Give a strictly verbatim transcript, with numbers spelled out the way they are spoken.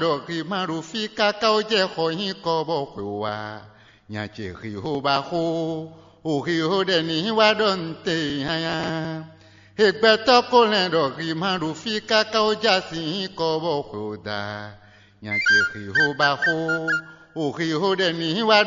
ɖɔ hwi ma ɖo fí káká ó jɛ xɔ nyí kɔ bɔ xwe wá. Nya ce hwi xó ba xó, o hwi xó ɖɛ ní wá ɖɔ nte nyanya. Hegbɛtɔ́ ko lɛ́ ɖɔ hwi ma ɖo fí káká ó jɛ así nyí kɔ bɔ xwe o da. Nya ce hwi xó ba xó, o hwi xó ɖɛ ní wá ɖɔ